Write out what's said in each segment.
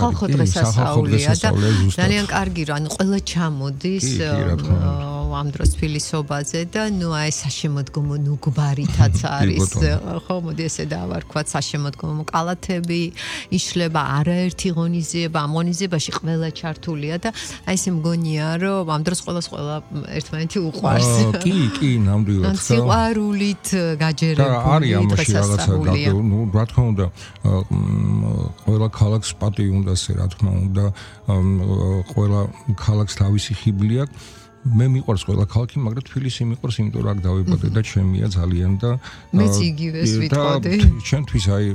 სახალხო დღესასწაულია და ძალიან კარგი რა, ანუ ყველა ჩამოდის ამ დროს თბილისობაზე და ნუ აი საშემოდგომო ნუგბარითაც არის ხო მოდი ესე დავარქვათ საშემოდგომო კალათები იშლება არაერთი ღონისძიება ამ ღონისძიებაში ყველა ჩართულია და აი ესე მგონია რომ ამ დროს ყველა ერთმანეთი უყვარს კი ნამდვილად სიყვარულით გაჯერებული დღესასწაულია ნუ რა თქმა უნდა ყველა ქალაქს პატივი უნდა რა თქმა უნდა ყველა ქალაქს თავისი ხიბლი აქვს მე მიყვარს ყველა ქალაქი, მაგრამ თბილისი მიყვარს, იმიტომ რომ აქ დავიბადე და ჩემია ძალიან და მეც იგივეს ვიტყოდი. ჩემთვის აი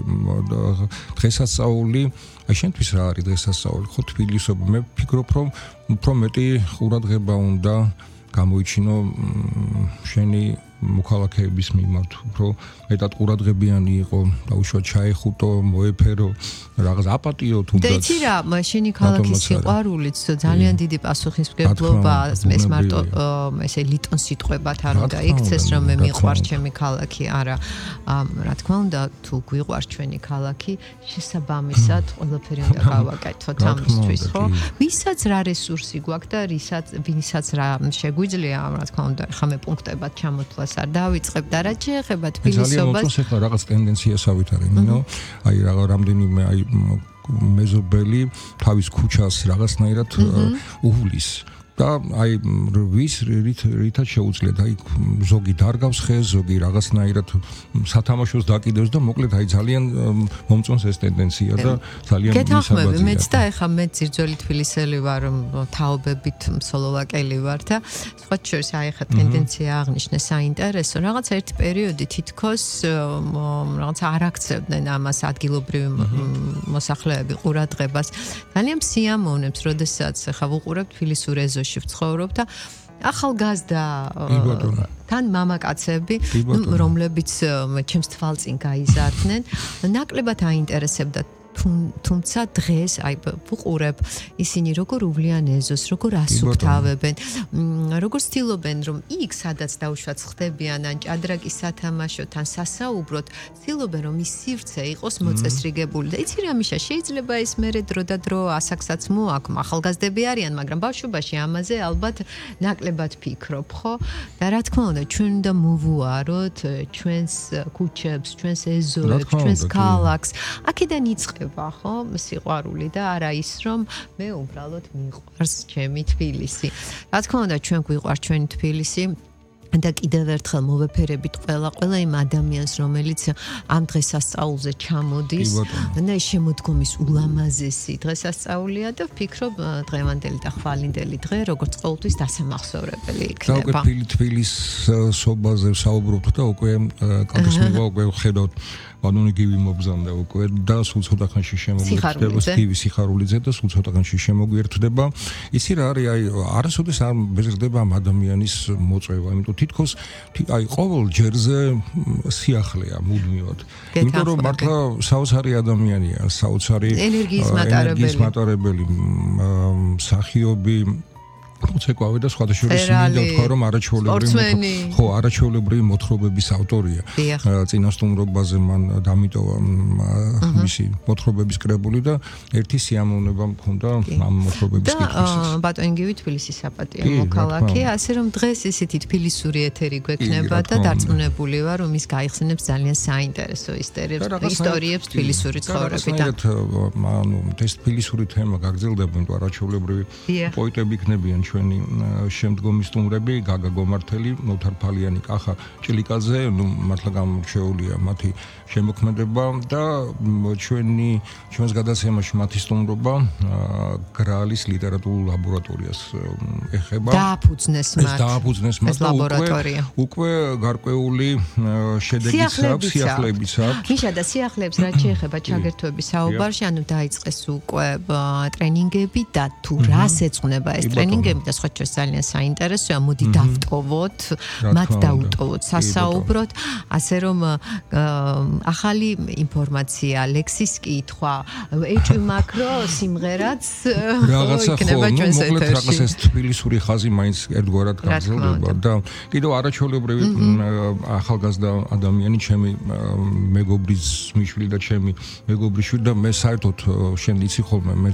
დღესასწაული, აი შენთვის რა არის დღესასწაული? ხო თბილისობა, მე ვფიქრობ რომ უფრო მეტი ყურადღება უნდა გამოიჩინო შენი მოქალაქეების მიმართ, უფრო მეტად ყურადღებიანი იყო, დაუშვათ ჩაეხუტო, მოეფერო, რაღაც აპატიო თუნდაც. და იცი რა, შენი ქალაქის სიყვარულიც ძალიან დიდი პასუხისმგებლობა, ეს მარტო ესე ლიტონ სიტყვებად არ უნდა იქცეს, რომ მე მიყვარს ჩემი ქალაქი, არა. რა თქმა უნდა, თუ გვიყვარს ჩვენი ქალაქი, შესაბამისად ყველაფერი უნდა გავაკეთოთ ამისთვის, ხო? ვისაც რა რესურსი გვაქვს და ვისაც რა შეგვიძლია, რა თქმა უნდა, ხა მე პუნქტებად ჩამოთვლას არ დავიწყებ და რა შეეხება თბილისობას. ძალიან მოწონს ახლა რაღაც ტენდენციასავით არის, ნინო. აი რამდენიმე აი მეზობელი თავის ქუჩას რაღაცნაირად უვლის. და აი რითაც შეუძლიათ აი ზოგი დარგავს ხეს, ზოგი რაღაცნაირად სათამაშოს დაკიდებს და მოკლედ აი ძალიან მომწონს ეს ტენდენცია და ძალიან გეთანხმები მეც და ეხა მე ძირძველი თბილისელი ვარ, თაობებით სლოვაკელი ვარ და სხვა შორის აი ეხა ტენდენცია აღნიშნე საინტერესო რაღაც ერთი პერიოდი თითქოს რაღაც არ აქცევდნენ ამას ადგილობრივი მოსახლეები ყურადღებას ძალიან სიამოვნებს როდესაც ეხა ვუყურებ თბილისურ ეზოში ვცხოვრობ და ახალგაზრდა თან მამაკაცები რომლებიც ჩემს თვალწინ გაიზარდნენ ნაკლებად აინტერესებდა თუმცა დღეს აი ვუყურებ ისინი როგორ უვლიან ეზოს, როგორ ასუფთავებენ, როგორ ცდილობენ რომ იქ სადაც დაუშვათ ხდებიან ან ჭადრაკის სათამაშოთ ან სასაუბროთ, ცდილობენ რომ ის სივრცე იყოს მოწესრიგებული და იცი რა მიშა შეიძლება ეს მერე დრო და დრო ასაკსაც მოაქვს, ახალგაზრდები არიან, მაგრამ ბავშვობაში ამაზე ალბათ ნაკლებად ფიქრობ, ხო? და რა თქმა უნდა ჩვენ უნდა მოვუაროთ ჩვენს ქუჩებს, ჩვენს ეზოებს, ჩვენს ქალაქს, აქედან იწყება ხო სიყვარული და არა ის რომ მე უბრალოდ მიყვარს ჩემი თბილისი. რა თქმა უნდა ჩვენ გვიყვარს ჩვენი თბილისი და კიდევ ერთხელ მოვეფერებით ყველა იმ ადამიანს რომელიც ამ დღესასწაულზე ჩამოდის და შემოდგომის ულამაზესი დღესასწაულია და ვფიქრობ დღევანდელი და ხვალინდელი დღე როგორც ყოველთვის დასამახსოვრებელი იქნება. და უკვე თბილისობაზე საუბრობთ და უკვე კალთის მივა უკვე ხედავთ ბანონი გივი მობზანდა უკვე და სულ ცოტა ხანში შემოგვიერთდება გივი სიხარულიძე და სულ ცოტა ხანში შემოგვიერთდება. იცი რა არის აი არასოდეს არ მეზრდება ამ ადამიანის მოწვევა, იმიტომ თითქოს აი ყოველ ჯერზე სიახლეა მუდმივად. იმიტომ რომ მართლა საოცარი ადამიანია, საოცარი ენერგიის მატარებელი მსახიობი მოცეკვავე და სხვათა შორის მინდა თქვა რომ არაჩვეულებრივი მოთხრობების ავტორია. წინასწარმობაზე მან დამიტოვა მისი მოთხრობების კრებული და ერთი სიამოვნება მქონდა ამ მოთხრობების კითხვისას. ბატონგივი თბილისის საპატიო მოქალაქე, ასე რომ დღეს ისეთი თბილისური ეთერი გვექნება და დარწმუნებული ვარ რომ ის გაიხსენებს ძალიან საინტერესო ისტორიებს თბილისური ცხოვრებიდან. ანუ ეს თბილისური თემა გაგრძელდება, იმიტომ არაჩვეულებრივი პოეტები იქნებიან ჩვენი შემდგომი სტუმრები, გაგა გომართელი, ნოთარ ფალიანი, კახა ჭილიკაძე, ნუ მართლა გამორჩეულია მათი შემოქმედება და ჩვენს გადაცემაში მათი სტუმრობა გრალის ლიტერატურულ ლაბორატორიას ეხება. დააფუძნეს მათ ლაბორატორია. უკვე გარკვეული შედეგიც აქვს, სიახლეებიც აქვს. მიშა და სიახლეებს რაც შეეხება ჩაგერთვების საუბარში, ანუ დაიწყეს უკვე ტრენინგები და თუ რას ეძღვნება ეს ტრენინგები და სხვა შორის ძალიან საინტერესოა, მოდი დავტოვოთ, მათ დაუტოვოთ, სასაუბროთ, ასე რომ ახალი ინფორმაცია, ლექსის კითხვა, ეჭვი მაქრო სიმღერაც იქნება ჩვენს ეთერში. მოკლედ რაღაც ეს თბილისური ხაზი მაინც ერთგვარად გაგრძელდება და კიდევ არაჩვეულებრივი ახალგაზრდა ადამიანი, ჩემი მეგობრის მიშვილი და ჩემი მეგობრის შვილი და მე საერთოდ შენ იცი ხოლმე მე